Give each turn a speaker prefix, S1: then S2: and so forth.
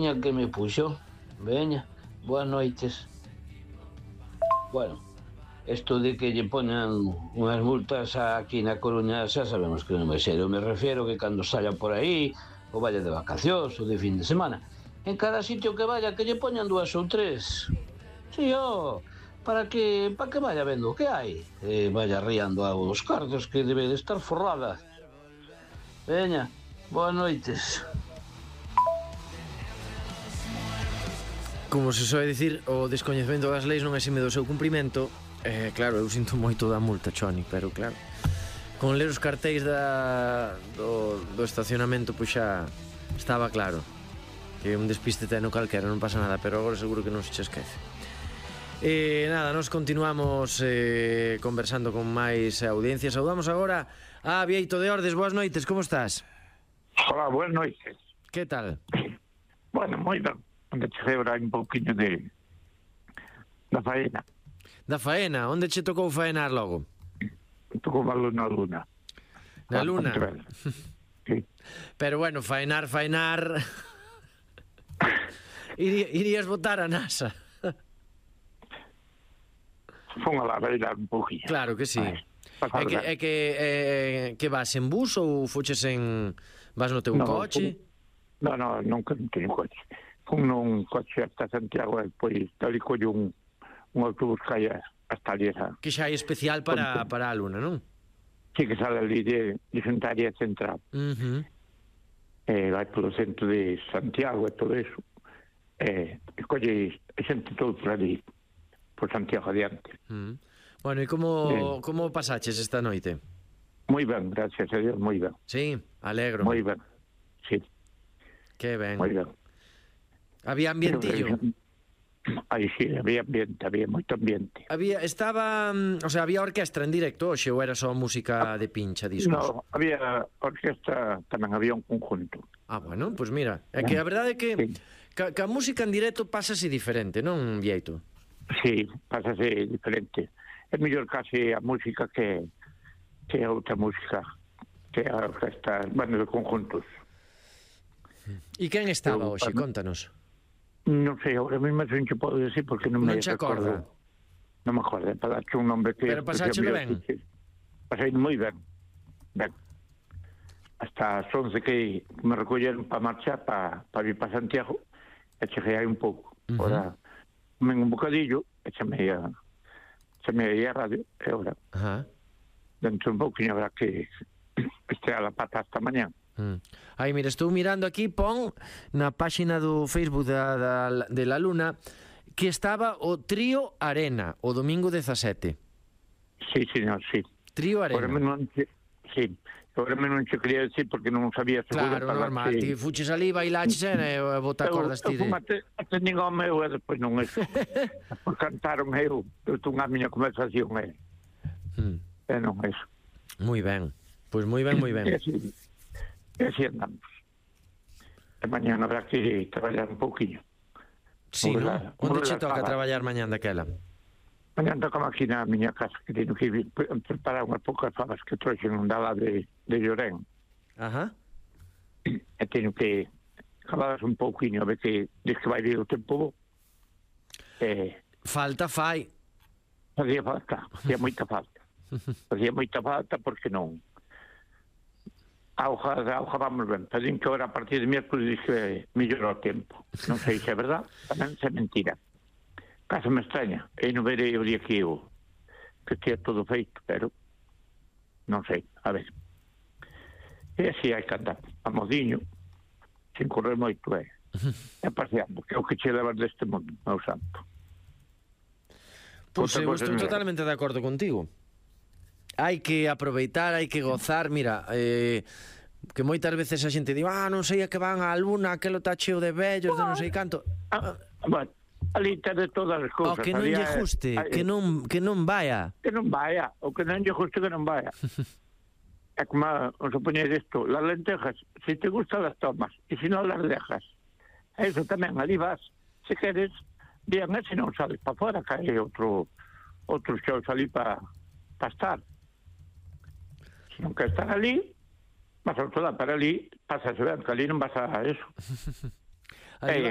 S1: tiña que me puxo. Veña, boas noites. Bueno, isto de que lle poñan unhas multas aquí na Coruña xa sabemos que non vai ser. Eu me refiero que cando saia por aí, ou vaya de vacacións ou de fin de semana, en cada sitio que vaya que lle poñan 2 ou 3. Si, para que vaya vendo o que hai e vaya riando aos cartos que debe de estar forrada. Veña, boas noites.
S2: Como se soe dicir, o descoñecemento das leis non exime do seu cumprimento. Claro, eu sinto moito da multa, Choni, pero claro, con ler os cartéis do estacionamento, pois xa estaba claro que un despiste teno calquera, non pasa nada, pero agora seguro que non se che esquece. Nada, nos continuamos conversando con máis audiencia. Saudamos agora a Bieito de Ordes. Boas noites, como estás?
S3: Hola, buenas noites.
S2: Que tal?
S3: Bueno, moi ben. Onde cheguei ahora un pouquinho da faena.
S2: Da faena? Onde che tocou faenar logo?
S3: Tocou malo na Luna.
S2: Na Luna?
S3: Sí.
S2: Pero bueno, faenar irías botar a NASA.
S3: Fon a la bailar un pouquinho.
S2: Claro que sí. É que vas en bus ou fuches vas no teu coche?
S3: Non teño coche. Fun nun coche hasta Santiago e depois tal collo un autobús que hai hasta Liesa.
S2: Que xa é especial para a Luna, non?
S3: Sí, que sale ali de Xuntaria Central. Vai polo centro de Santiago e todo eso. Colle xente todo por ali, por Santiago adiante.
S2: Bueno, e como pasaches esta noite?
S3: Moi ben, gracias a Dios, moi ben.
S2: Sí, alegro.
S3: Moi ben, sí.
S2: Que ben.
S3: Moi ben.
S2: Había ambientillo?
S3: Aí sí, había ambiente, había moito ambiente.
S2: Había orquestra en directo hoxe ou era só música de pincha, discos?
S3: No, había orquestra, tamén había un conjunto.
S2: Bueno, pois mira, é que a verdade é que a música en directo pásase diferente, non, Bieito?
S3: Sí, pásase diferente. É mellor case a música que a outra música, que a orquestra, bueno, de conjuntos.
S2: E quen estaba hoxe? Contanos.
S3: Non sei, agora mesmo non che podo decir porque non me
S2: recordo.
S3: Non me acordo, para darche un nombre que...
S2: Pero pasáchelo ben?
S3: Pasei moi ben. Ben. Hasta as 11 que me recolleron para marchar, para vir para Santiago, e cheguei aí un pouco. Ahora, comen un bocadillo, e chamei a radio, e ahora, dentro un pouquinho habrá que estrear a pata hasta mañán.
S2: Aí, mira, estou mirando aquí, pon na páxina do Facebook de La Luna que estaba o Trío Arena o domingo 17.
S3: Sí, señor, sí.
S2: Trío Arena.
S3: Sí, agora non che quería decir porque non sabía seguro.
S2: Claro, normal, ti fuches ali, bailaches e bota cordas ti de...
S3: Eu nin ao meu e depois non é. Por cantaron eu tunga a miña conversación e non é eso.
S2: Moi ben, pois moi ben, moi ben.
S3: E así andamos. E mañana habrá que traballar un pouquinho.
S2: Sí, non? Onde che toca traballar mañán daquela?
S3: Mañán toca aquí na miña casa, que teño que preparar unhas poucas fabas que trouxen da lá de Llorén. E teño que acabadas un pouquinho, a ver que diz que vai vir o tempo bo.
S2: Falta fai.
S3: Facía moita falta. Facía moita falta porque non... A hoja vamos ben, pero din que ahora a partir de miércoles diz que mellora o tempo. Non sei se é verdad, tamén se é mentira. Caso me extraña, e non verei o día que estea todo feito, pero non sei, a ver. E así hai que andar, a modiño, sin correr moito, e paseando, que é o que che levas deste mundo, meu santo.
S2: Pois eu estou totalmente de acordo contigo. Hai que aproveitar, hai que gozar. Mira, que moitas veces a xente di non sei a que van á Luna, aquelo está cheo de vellos, de non sei canto.
S3: Bueno, ali está de todas as cousas.
S2: O que non lle guste, que non vaya.
S3: Que non vaya, o que non lle guste que non vaya. É como os opoñeis isto, las lentejas, se te gustan las tomas, e se non las dejas. Eso tamén, ali vas, se queres, bien, e se non sales para fora, cae outros xeos ali para estar. Se non quer estar ali, vas a outro lado para ali, pasas ben, que ali non vas a eso.